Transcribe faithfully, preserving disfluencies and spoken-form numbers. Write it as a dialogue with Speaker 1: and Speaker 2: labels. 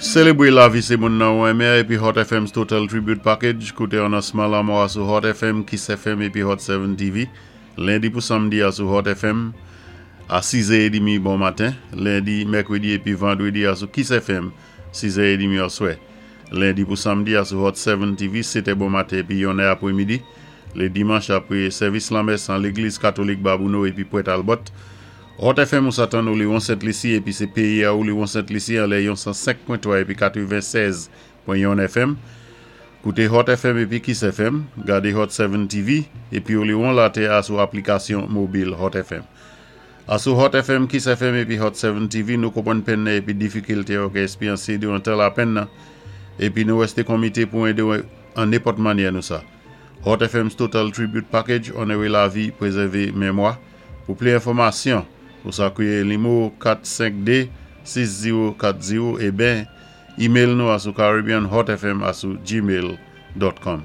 Speaker 1: Sélébwé lavi sé moun nan ou enmen épi Hot F M's Total Tribute Package. Kouté anonsman lanmò a sou Hot F M, Kiss F M épi Hot sept T V. Lendi pou samdi a sou Hot F M a sis è trant bon maten. Lendi, mèkwédi épi vandwédi a sou Kiss F M sis è trant oswè. Lendi pou samdi a sou Hot sept T V sèt è bon maten épi yon è apwé midi. Lé dimanch apwé sèvis lanmès an légliz katolik Babouno épi Pwèt Albert. Hot F M ou sa tann Oléron Sent Lisi épi sé péyi a Oléron Sent Lisi an lè yon san senk pwen twa épi katwennsèz pwen yon F M. Kouté Hot F M épi Kiss F M, gadé Hot sept T V épi Oléron latè a sou aplikasyon mobil Hot F M. A sou Hot F M, Kiss F M épi Hot sept T V, nou konpwann penn nan épi difikilte ou ka ékspéryansé diwan tan lapenn nan épi nou wèsté komité pou édé ou an nenpòt mannyè nou sa. Hot F M's Total Tribute Package, onoré lavi, prézèvé mémwa. Pou plis enfòmasyon, ou sa kwiyé nimewo kat senk de sis zewo kat zewo é ben email nou a sou caribbeanhotfm a sou gmail dot com.